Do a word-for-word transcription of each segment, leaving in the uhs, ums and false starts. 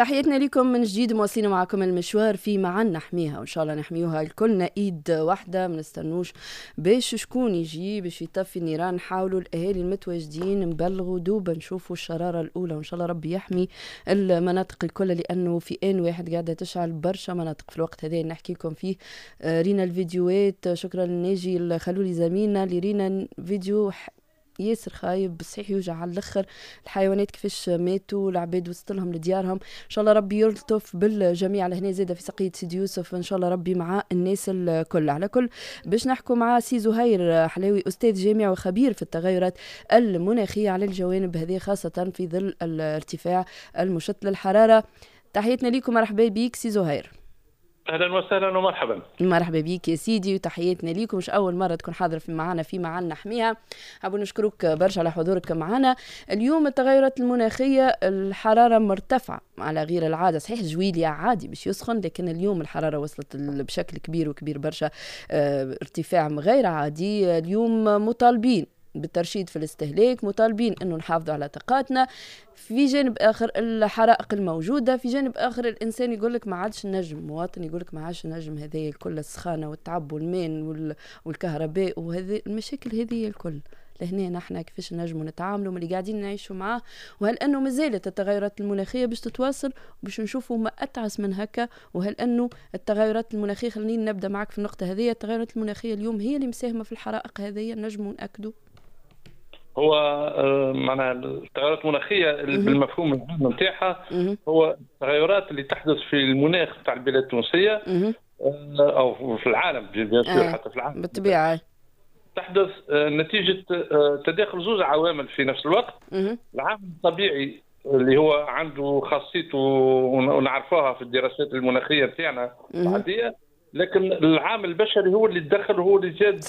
تحياتنا لكم من جديد، مواصلين معكم المشوار في معا نحميها، وان شاء الله نحميوها الكلنا ايد واحده، ما نستنوش باش شكون يجي باش يطفي النيران. نحاولوا الاهالي المتواجدين نبلغوا دوبا نشوفوا الشرارة الاولى، وان شاء الله ربي يحمي المناطق الكل، لانه في ان واحد قاعدة تشعل برشا مناطق في الوقت هذا اللي نحكي لكم فيه. آه، رينا الفيديوهات، شكرا لناجي الخلولي زميلنا اللي رينا فيديو ياسر خايب، صحيح يوجع على الاخر، الحيوانات كيفاش ماتوا، العباد وصلت لهم لديارهم. ان شاء الله ربي يلطف بالجميع. لهنا زاده في سقية سيدي يوسف، ان شاء الله ربي مع الناس الكل. على كل باش نحكوا مع سي زهير حلاوي، استاذ جامعي وخبير في التغيرات المناخية، على الجوانب هذه خاصة في ظل الارتفاع المشط للحراره. تحياتنا لكم، مرحبا بك سي زهير. اهلا وسهلا ومرحبا. مرحبا بك يا سيدي وتحياتنا ليكم. مش اول مرة تكون حاضر في معنا في معنا نحميها. حابب نشكرك برشا على حضورك معنا اليوم. التغيرات المناخيه، الحرارة مرتفعة على غير العاده، صحيح جويليا عادي باش يسخن، لكن اليوم الحرارة وصلت بشكل كبير وكبير برشا، اه ارتفاع غير عادي. اليوم مطالبين بالترشيد في الاستهلاك، مطالبين انه نحافظوا على طاقاتنا. في جانب اخر الحرائق الموجوده، في جانب اخر الانسان يقول لك ما عادش نجم، مواطن يقول لك ما عادش نجم هذه الكل، السخانه والتعب والماء والكهرباء وهذه المشاكل هذه الكل. لهنا نحن كيفاش نجموا نتعاملوا من اللي قاعدين نعيشوا معاه، وهل انه مازالت التغيرات المناخية باش تتواصل باش نشوفوا ما اتعس من هكا، وهل انه التغيرات المناخية، خليني نبدا معك في النقطة هذه، التغيرات المناخية اليوم هي اللي مساهمة في الحرائق هذه، نجموا ناكدوا؟ هو معناها التغيرات المناخية بالمفهوم العام نتاعها هو التغيرات اللي تحدث في المناخ تاع البلاد التونسية او في العالم، bien sûr حتى في العالم بالطبيعة، تحدث نتيجة تداخل زوج عوامل في نفس الوقت. العامل الطبيعي اللي هو عنده خاصيته ونعرفوها في الدراسات المناخية نتاعنا العادية، لكن العامل البشري هو اللي تدخل وهو اللي زاد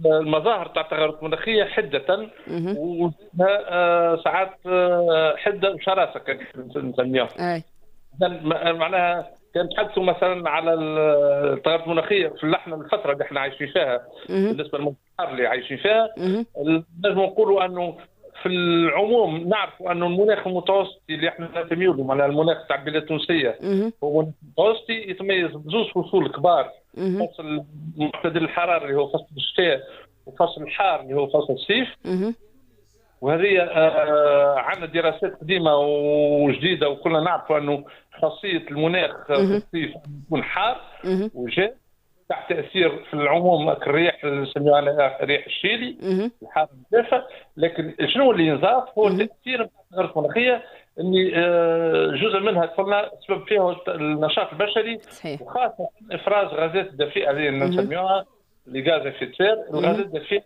المظاهر تاع التغيرات المناخية حده، وزادها ساعات حده وشراسه نسميها. معناها كان تحدثوا مثلا على التغيرات المناخية في اللحنه الفترة اللي احنا عايشين فيها، بالنسبة للمنطقة اللي عايشين فيها، نجم نقولوا انه في العموم نعرفوا انه المناخ المتوسطي اللي احنا ننتميو له، معناها المناخ تاع البلاد التونسية، هو مناخ متوسطي يتميز بزوج فصول كبار، فصل معتدل الحرارة اللي هو فصل الشتاء، وفصل الحار اللي هو فصل الصيف. وهذه آه عندنا دراسات قديمة وجديدة، وكلنا نعرفوا انه خاصية المناخ في الصيف يكون حار وجاف تحت تاثير في العموم الرياح اللي نسميوها ريح الشيلي الحار الجافه. لكن شنو اللي ينضاف هو التاثير نتاع التغيرات المناخية، اللي جزء منها قلنا سبب فيه النشاط البشري، صحيح. وخاصة افراز غازات الدفيئه اللي نسميوها les gaz à effet de serre. الغازات الدفيئه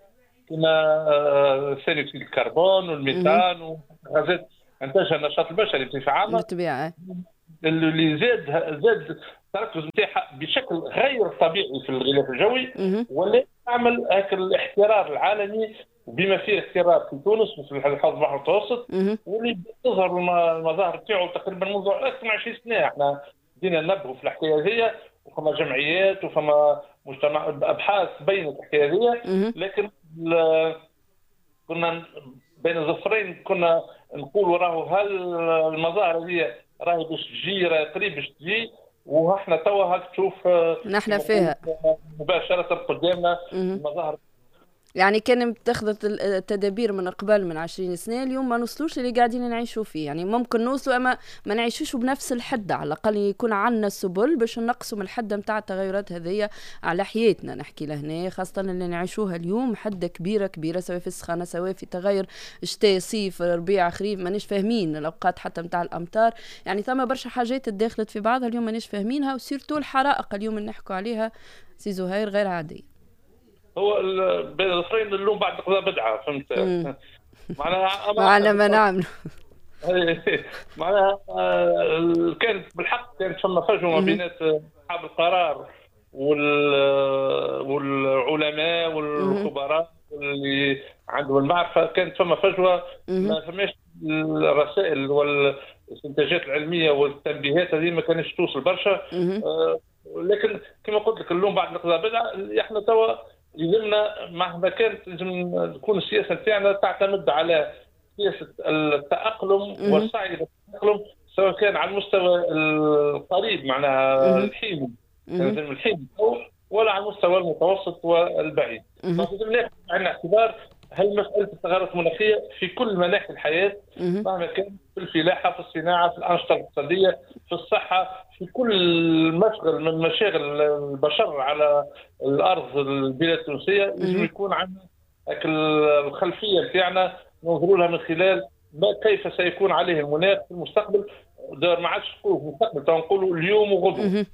كما ثاني اكسيد الكربون والميثان وغازات انتجها النشاط البشري بصفة عامة، بالطبيعة اللي زاد زاد التركز نتاعها بشكل غير طبيعي في الغلاف الجوي، ولا تعمل هاك الاحترار العالمي بما فيه احترار في تونس وفي الحوض البحر المتوسط، واللي تظهر المظاهر تاعو تقريبا منذ اكثر من عشرين سنة. احنا بدينا ننبهوا في الحكاية هذه، وفما جمعيات وفما مجتمع ابحاث بينت الحكاية هذه، لكن كنا بين الظفرين كنا نقولوا راهو هل المظاهر هذه راهي باش تجي، راهي قريب باش تجي، واحنا توا هاك تشوف نحن فيها مباشرة قدامنا المظاهر. يعني كان اتخذت التدابير من قبل من عشرين سنة، اليوم ما نوصلوش اللي قاعدين نعيشوا فيه، يعني ممكن نوصلوا اما ما نعيشوش بنفس الحدة، على الاقل يكون عندنا السبل باش نقصوا من الحدة نتاع التغيرات هذية على حياتنا. نحكي لهنا خاصة اللي نعيشوها اليوم حده كبيرة كبيرة، سواء في السخانه سواء في تغير شتاء صيف ربيع خريف، مانيش فاهمين الاوقات حتى نتاع الامطار، يعني ثم برشا حاجات تداخلت في بعضها اليوم مانيش فاهمينها، و surtout الحرائق اليوم اللي نحكوا عليها سي زهير غير عادية. هو بين الظفرين اللوم بعد قضاء بدعة، فهمت؟ معناها معنا ما نعمل معناها كانت بالحق كانت فما فجوة ما بين اصحاب القرار والعلماء والخبراء اللي عندهم المعرفة، كانت فما فجوة، ما فماش الرسائل والاستنتاجات العلمية والتنبيهات هذه ما كانتش توصل برشا. لكن كما قلت لك اللوم بعد القضاء بدعة. احنا توا يلزمنا مهما كانت لازم تكون السياسة نتاعنا تعتمد على سياسة التاقلم والسعي الى التاقلم، سواء كان على المستوى القريب معناها الحين الحين ولا على المستوى المتوسط والبعيد. لازم ناخذ بعين الاعتبار هل مسألة التغيرات المناخية في كل مناحي الحياة، مهما كان، في الفلاحة، في الصناعة، في الأنشطة الاقتصادية، في الصحة، في كل مشغل من مشاغل البشر على الأرض البلاد التونسية، لازم يكون عندنا الخلفية بتاعنا ننظروا لها من خلال ما كيف سيكون عليه المناخ في المستقبل. دار ما عادش نقولوا في المستقبل، نقولوا اليوم وغدوة.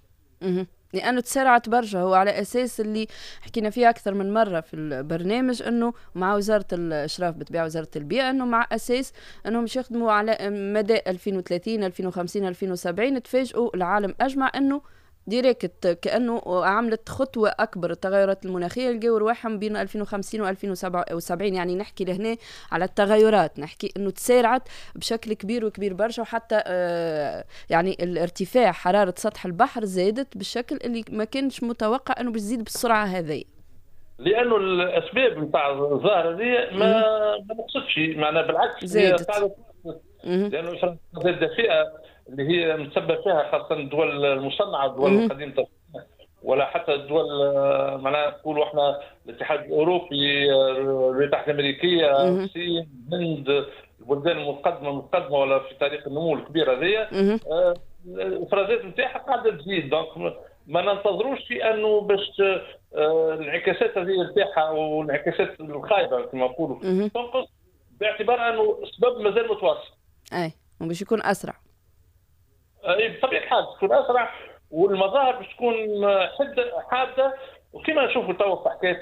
لأنه تسارعت برشا. هو على أساس اللي حكينا فيه أكثر من مرة في البرنامج أنه مع وزارة الإشراف بتبيع وزارة البيئة أنه مع أساس أنهم مش يخدموا على مدى ألفين وثلاثين ألفين وخمسين ألفين وسبعين. تفاجئوا العالم أجمع أنه direct كأنه عملت خطوة أكبر التغيرات المناخية، لقوا رواحهم بين ألفين وخمسين و ألفين وسبعين. يعني نحكي لهنا على التغيرات، نحكي أنه تسارعت بشكل كبير وكبير برشا، وحتى آه يعني الارتفاع حرارة سطح البحر زادت بالشكل اللي ما كانش متوقع أنه بتزيد بالسرعة هذه، لأنه الأسباب نتاع الظاهرة هذه ما ما نقصتش، معناها بالعكس زادت، لأنه الإفرازات الدافئة اللي هي متسبب فيها خاصة الدول المصنعة، الدول القديمة، ولا حتى الدول معناها نقولوا احنا الاتحاد الأوروبي، الولايات المتحدة الأمريكية، الصين، الهند، البلدان المتقدمة المتقدمة ولا في طريق النمو الكبير هذيا، الإفرازات نتاعها قاعدة تزيد. donc ما ننتظروش في أنه باش الانعكاسات هذه نتاعها والانعكاسات الخايبة كما نقولوا تنقص، باعتبار أنه السبب مازال متواصل. أي وباش يكون أسرع. بطبيعة الحال تكون أسرع، والمظاهر باش تكون حدة حادة، وكما نشوفوا توا في حكاية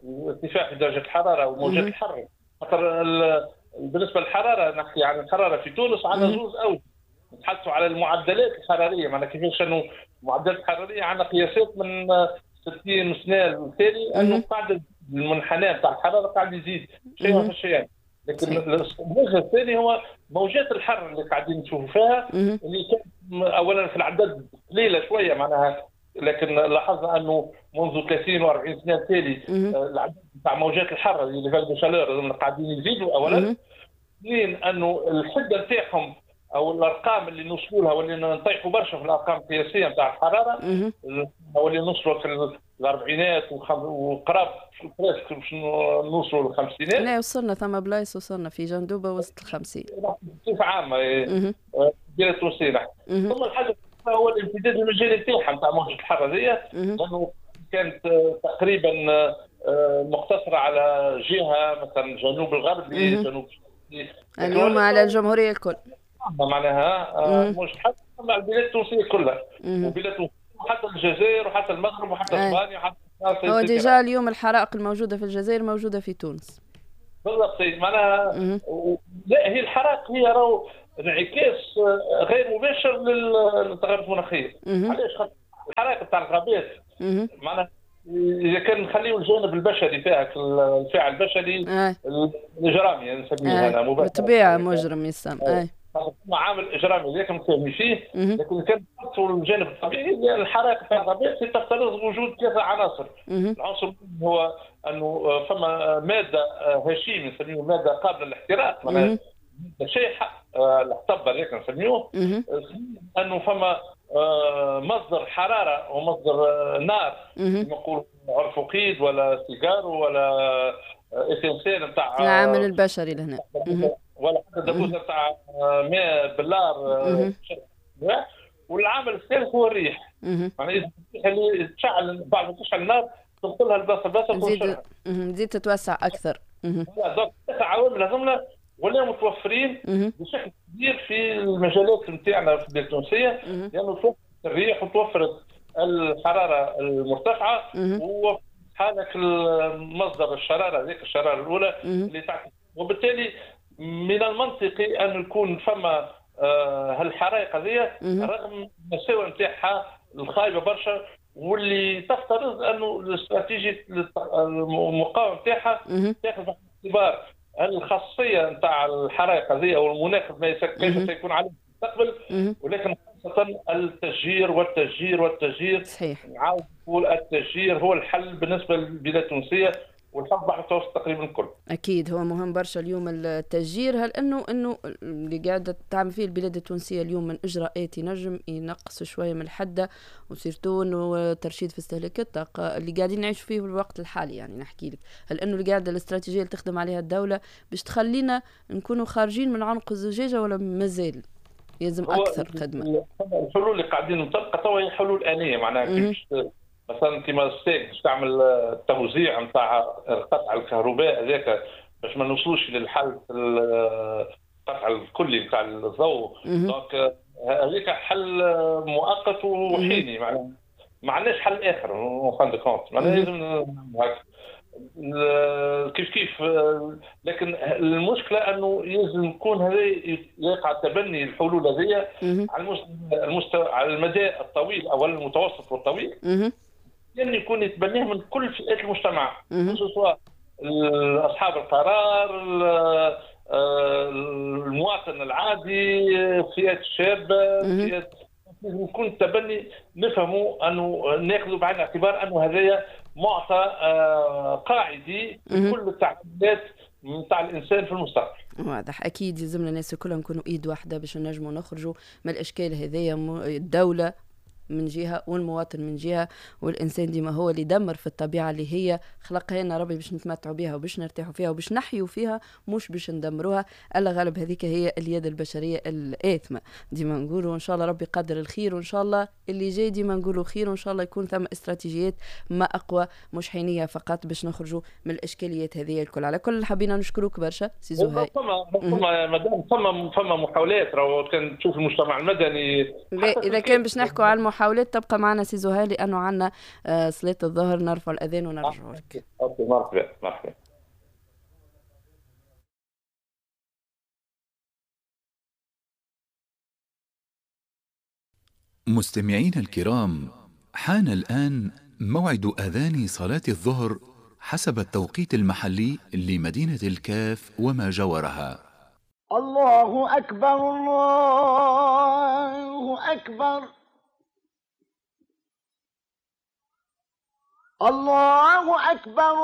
الارتفاع في درجة الحرارة وموجات الحر. خاطر بالنسبة للحرارة، نحكي عن الحرارة في تونس عندنا زوز أوج، نتحدثوا على المعدلات الحرارية، معناها كيفاش أنه المعدلات الحرارية عندنا قياسات من ستين سنة للتالي أنه قاعد المنحنى نتاع الحرارة قاعد يزيد شيء في شيء. لكن الوجه الثاني هو موجات الحر اللي قاعدين نشوفوا فيها، اللي كانت اولا في العدد قليله شوية معناها، لكن لاحظنا انه منذ ثلاثين وأربعين سنة التالي العدد نتاع موجات الحر اللي vagues de chaleur قاعدين يزيدوا اولا. اثنين انه الحدة نتاعهم او الارقام اللي نوصلوا لها واللي نطيحوا برشا في الارقام القياسية نتاع الحرارة، واللي نوصلوا في الاربعينات وقراب presque باش نوصلوا للخمسينات. لا وصلنا ثم بلايص، وصلنا في جندوبه وسط الخمسين بصفة عامة البلاد التونسية. ثم الحاجة هو الامتداد المجالي نتاعها نتاع موجه الحر هذيا، لانه كانت تقريبا مقتصرة على جهة مثلا الجنوب الغربي، جنوب اليوم على الجمهورية الكل معناها موجه الحر على البلاد التونسية كلها، وبلاد حتى الجزائر وحتى المغرب وحتى اسبانيا وحتى هو déjà اليوم الحرائق الموجودة في الجزائر موجودة في تونس. بالضبط معناها و... لا هي الحرائق هي راهو انعكاس غير مباشر للتغيرات المناخية. علاش؟ خاطر الحرائق تاع الغابات معناها اذا كان نخليو الجانب البشري فيها، الفاعل البشري الاجرامي يعني نسميه انا مباشرة، بالطبيعة مجرم يسمى عامل اجرامي ذاك متفاهمين فيه، لكن كان الجانب الطبيعي الحرائق في الغابات تفترض وجود ثلاثة عناصر. العنصر هو انه فما مادة هشيم نسميه مادة قابله للاحتراق، معناها شيحه الحطب هذاك نسميوه، انه فما مصدر حرارة ومصدر نار نقول عرف وقيد ولا سيجار ولا essentiel نتاع العامل البشري لهنا، ولا حتى دبوزه تاع ماء بلار. والعامل الثالث هو الريح، معناها اللي تشعل بعد ما تشعل النار تنقلها لبلاصه بلاصة تزيد تزيد تتوسع اكثر. donc ثلاث عوامل هذوما ولا متوفرين بشكل كبير في المجالات نتاعنا في البلاد التونسية، لانه توفرت الريح وتوفرت الحرارة المرتفعة وهذاك المصدر الشرارة هذيك الشرارة الاولى اللي تعكس، وبالتالي من المنطقي ان يكون فما هالحرائق هذه رغم المساوئ نتاعها الخايبة برشا، واللي تفترض انه الاستراتيجية المقاومة نتاعها تاخذ باعتبار الخاصية نتاع الحرائق هذه او المناخ ما كيف سيكون عليه في المستقبل، ولكن خاصة التشجير والتشجير والتشجير. صحيح، نعاود نقول التشجير هو الحل بالنسبة للبلاد التونسية، والحوض البحر المتوسط تقريبا الكل. اكيد هو مهم برشا اليوم التشجير. هل انه انه اللي قاعدة تعمل فيه البلاد التونسية اليوم من اجراءات ينجم ينقص شوية من الحدة، و surtout انه ترشيد في استهلاك الطاقة اللي قاعدين نعيش فيه في الوقت الحالي؟ يعني نحكي لك هل انه اللي قاعدة الاستراتيجية اللي تخدم عليها الدولة باش تخلينا نكونوا خارجين من عنق الزجاجة، ولا مازال يلزم اكثر خدمة؟ الحلول اللي قاعدين نطبقها توا هي حلول انية، معناها كيفاش مثلا كيما الستاغ باش تعمل التوزيع نتاع قطع الكهرباء هذاك باش ما نوصلوش للحل القطع الكلي نتاع الضوء. donc هذاك حل مؤقت وحيني، معناها ما عندناش حل اخر en fin de compte، معناها لازم هكا كيف كيف. لكن المشكلة انه لازم يكون هذا يقع تبني الحلول هذه على المستوى على المدى الطويل او المتوسط والطويل، يعني يكون يتبناه من كل فئات المجتمع، سواء اصحاب القرار، المواطن العادي، فئات الشابة، فئات. لازم يكون التبني نفهموا انه ناخذوا بعين الاعتبار انه هذايا معطى قاعدي في كل التعاملات نتاع الانسان في المستقبل. واضح، اكيد يلزمنا الناس كلها نكونوا ايد واحدة باش نجموا نخرجوا من الاشكال هذايا، الدولة من جهة والمواطن من جهة، والإنسان ديما هو اللي يدمر في الطبيعة اللي هي خلقها لنا ربي باش نتمتعوا بها وباش نرتاحوا فيها وباش نحيوا فيها، مش باش ندمروها. ألا غالب هذيك هي اليد البشرية الآثمة ديما نقولوا. إن شاء الله ربي يقدر الخير، وإن شاء الله اللي جاي ديما نقولوا خير، وإن شاء الله يكون ثم استراتيجيات ما أقوى مش حينية فقط باش نخرجوا من الإشكاليات هذه الكل. على كل حبينا نشكروك برشا سي زهير. فما فما مدام فما فما محاولات، راهو كان تشوف المجتمع المدني. إذا كان باش نحكوا على المحاولات تبقى معنا سي زهير، لأنه عنا صلاة الظهر، نرفع الأذان ونرجع لك. مرحبا مرحبا. مستمعينا الكرام، حان الآن موعد أذان صلاة الظهر حسب التوقيت المحلي لمدينة الكاف وما جاورها. الله أكبر الله أكبر الله أكبر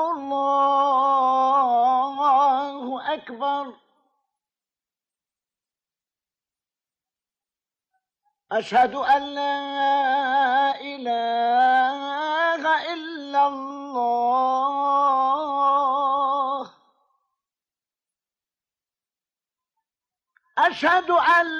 الله أكبر. أشهد أن لا إله إلا الله. أشهد أن